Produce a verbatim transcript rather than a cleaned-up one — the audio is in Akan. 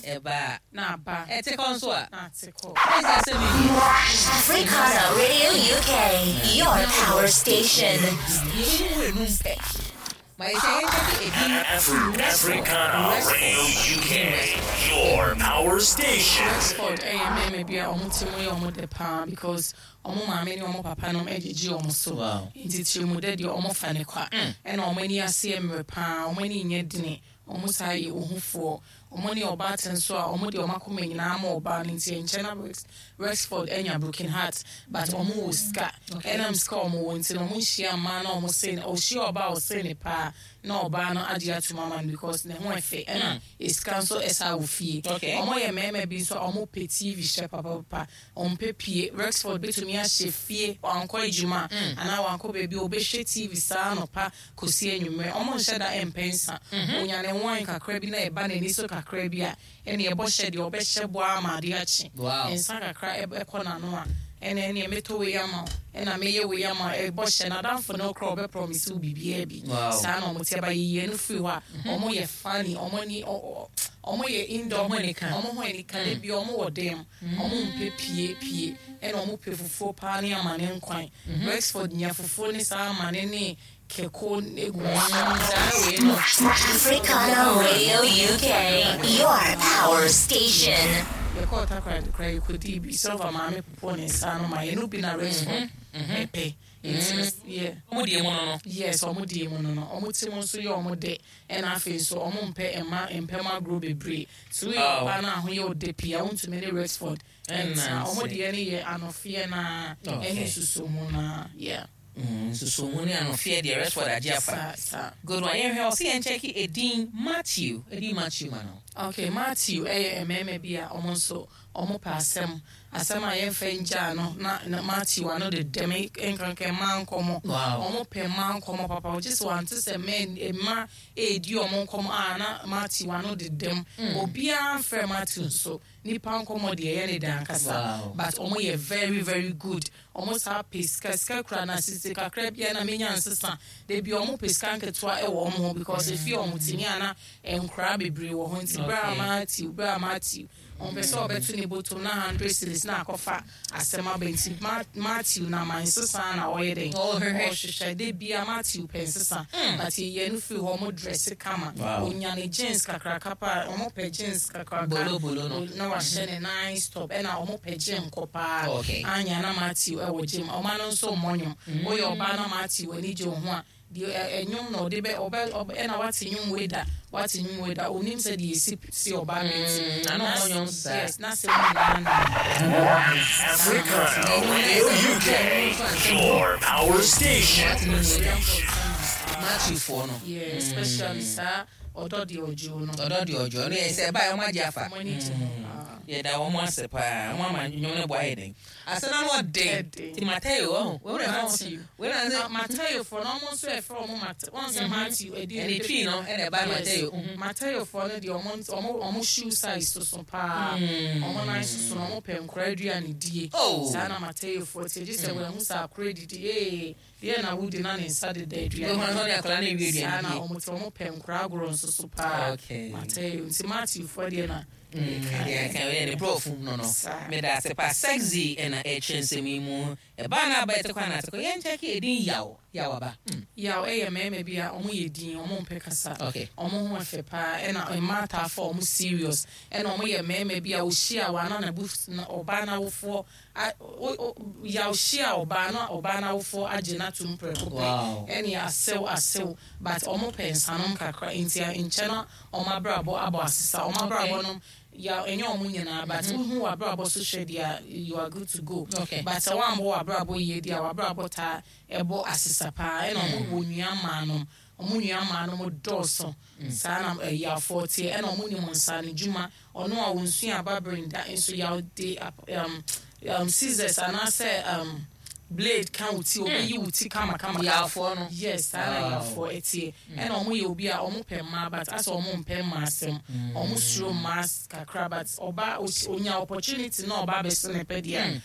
Ɛba a na aba. Ɛte kɔ nso a na ate kɔ. Ɛsɛ asɛm yi. Africana Radio U K, your power station. Yɛbɛmu enum pɛ ma yɛsɛ yɛnkyɛke edin. Afri- Africana Radio U K, your power station. Rexford ɛyɛ mmarima bi a ɔmo ti mu yɛ ɔmo dɛ paa because ɔmo maame ne ɔmo papa nom ɛgyegye ɔmo so. Wow. Nti tirimu dɛ deɛ, ɔmo fa ne kwa, ɛna ɔmo ani ase yɛ mmerɛ paa, ɔmo ani nyɛ dene, ɔmo saa yɛ ohufoɔ. Ɔmo ne ɔbaa te nso a, ɔmo de ɔmo akoma nyinaa ma ɔbaa no, nti nkyɛn na Rex- rexford ɛnya broken heart, but ɔmo wɔ sika. Ɛnam sika a ɔmo wɔ nti no, ɔmo nhyia mmaa na ɔmo se ne ɔhyia ɔbaa a ɔse ne paa na ɔbaa no agye atum ama no because ne ho ɛfɛ, ɛna esika nso ɛsa wɔ fie. Okay. Ɔmo yɛ mmarima bi nso a ɔmo pɛ T V hyɛ papapapa, ɔmo pɛ pie. Rexford betumi ahyɛ fie, wankɔ adwuma anaa wankɔ baabi a, ɔbɛhwɛ T V saa anɔpa kɔsi anwummerɛ. Ɔmo nhyɛ da ɛmpɛ nsa. Onya ne wine kakra bi na ɛba n'ani so kakra bi a, ɛne ɛbɔ hyɛ deɛ ɔbɛhyɛ boa ama adeɛ akye. Wow. Nsa kakra ɛb- ɛkɔ n'ano a, ɛna ɛne mɛtɔ wei ama wo, ɛna mɛyɛ wei ama wo, ɛbɔ hyɛ n'adamfo no korɔ, ɔbɛ promise wo biribiara bi. Wow. Saa na ɔmo te aba yiyie no firi hɔ a, ɔmo yɛ funny, ɔmo ni ɔ- ɔ- ɔmo yɛ indoor. Ɔmo ani ka. Ɔmo ho ani ka de bi. Ɔmo wɔ dɛm, ɔmo mpɛ pie pie, ɛna ɔmo pɛ fufuo paa ne amane nkwan. Rexford nya fufuo ne saa amane ne kɛko egu mu saa wei no. Africana Radio U K, your power station. Yɛkɔɔ Takoradi koraa, yɛkɔdii bi. Silver maame popo ne nsa no ma yɛno bi na Rexford ɛpɛ nti no, yeah. Ɔmo deɛ mu no no Yes, ɔmo die mu no no ɔmo ti mu nso yɛ ɔmo de, ɛna afei nso ɔmo mpɛ ɛma mpɛm agorɔ bebree so. Woyɛ Oh. ɔbaa no a ho yɛ ɔde pii a, wontumi ne Rexford ɛntena. Ɔmo Ɛnanse. deɛ no yɛ anɔfeɛ naa Okay. ɛne susumu naa, yeah. Mm, nsusumu ne anɔfeɛ deɛ, Rexford agye afa. Saa saa. Good one. Yɛhwɛ, ɔsɛ yɛnkyɛke edin Matthew, edin Matthew ma no. Okay, Matthew ɛyɛ mmarima bi a ɔmo nso ɔmo pɛ asɛm, asɛm a yɛmfa ngyaa no na na Matthew ano de dɛm nkankan mmaa nkɔmɔ. Wow. Ɔmo pɛ mmaa nkɔmɔ papa. Ɔgye sɛ wante sɛ mmaa mmaa edi ɔmo nkɔmɔ a, na Matthew ano de dɛm. Obiara mfrɛ Matthew nso nipa nkɔmɔ deɛ, ɛyɛ ne dan kasa. Wow. But ɔmo yɛ very very good. Ɔmo saa pɛ sika, sika kura na sisi kakra bia na menya nsesa debi. Ɔmo pɛ sika nketewa ɛwɔ ɔmo ho because efi ɔmo timi ana nkora bebree wɔ hɔ, nti bere a Okay. Matthew, bere a Matthew ɔmpɛ sɛ ɔbɛto ne bɔtɔm na hundred cedis na akɔfa asɛm aba, nti Ma- matthew na ma nsesa na ɔyɛ dɛn? Ɔhwehwɛ. Ɔhwehwɛ de bia. Matthew pɛ nsesa, but yɛyɛ no firi hɔ, ɔmo dress kama. Wow. Onya ne jeans kakraka pa, ɔmo pɛ jeans kakraka. Bolo bolo no. Na wahyɛ ne nice top, ɛna ɔmo pɛ gym kɔ paa. Okay. Anya na Matthew ɛwɔ gym. Ɔma no nso mmɔ nnwom. Woyɛ ɔbaa na Matthew ani gye wo ho a, deɛ ɛ- ɛnwom na ɔde bɛ ɔbɛ ɔbɛ ɛna wate nnwom wei da, wate nnwom wei da, onim sɛ deɛ esi si ɔbaa no ti. Mm, na na ɔmmɔ nnwom saa. Yes, na sɛ mu nyinaa na Africana Radio U K, your power station. Matthew foɔ no. Yeah, especially saa ɔdɔ deɛ ɔdwo no. Ɔdɔ deɛ ɔdwo no yɛ sɛ ɛbaa ɔmo agye afa. Ɔmo ani gye ho paa. Yɛda wɔn ase paa, wɔn ama nnwom no bɔ ayɛ den asɛnna no ɔden. Ɛden. Ti Mateo ɔho wɔn na ɛfɔ Matthew. wɔn na Na sɛ Mateo foɔ no, ɔmo nso ɛfrɛ ɔmo Mate wɔn sɛ Matthew ɛdi. Ɛne Twi no ɛna ɛba Mateo mhm. Mateo foɔ no deɛ, ɔmo ɔmo ɔmo shoe size soso paa, ɔmo nan soso na ɔmo pɛ nkora aduane die. Oh. Saa na Mateo foɔ tie gye sɛ wɔn ɛho sɛ akora didi ee deɛ na wodi na ne nsa deda aduane. Wɔn nso ne akwadaa no ewie saa aduane na die. ɔmo te, ɔmo pɛ nkora agorɔ nso so paa. Okay. Mateo nti Matthew foɔ deɛ na Deɛ ɛka ɛyɛ ne borɔfo no no Saa. Meda ase pa, Sexy, ɛna ɛkyerɛ nsɛm yi mu ɛbaa no aba ɛte kwan ate kɔ. Yɛnkyɛke ɛdin Yaw, Yaw aba Mm. Yaw ɛyɛ mmarima bi a ɔmo yɛ din, ɔmo mpɛ kasa. Okay. Ɔmo ho ɛfɛ paa, ɛna mmaa ataafa ɔmo serious, ɛna ɔmo yɛ mmarima bi a ohyia wa na n'abu na ɔbaa n'awofoɔ a o o yaw hyia ɔbaa na ɔbaa n'awofoɔ agye n'atum prɛko pɛ. Wow. Ɛne asew asew, but ɔmo pɛ nsanom kakra nti nkyɛn na ɔmo abrabɔ abɔ asesa ɔmo abrabɔ nom. Yaw, ɛnyɛ ɔmo nyinaa, but wohu w'abrabɔ so hwɛ deɛ, you are good to go. Okay. But sɛ woambɔ w'abrabɔ yie deɛ a, w'abrabɔ taa ɛbɔ asesa paa. Ɛna ɔmo wɔ nua mmaa nom, ɔmo nua mmaa nom dɔɔso. Saa na ɛyafoɔ teɛ, ɛna ɔmo nim nsa no dwuma. Ɔno a wɔnsua ababere nda nso, yaw de um, um, scissors anaasɛ um, blade ka wo ti, obeyi wo ti kamakama. Yafoɔ no. Yes, saa na Wow. yafoɔ ɛteɛ. Ɛna ɔmo yɛ obi a ɔmo pɛ mmaa, but asɛ ɔmo mpɛ mmaa asɛm, ɔmo suro mmaa kakra, but ɔba onya opportunity na ɔba abɛso ne pɛ deɛ.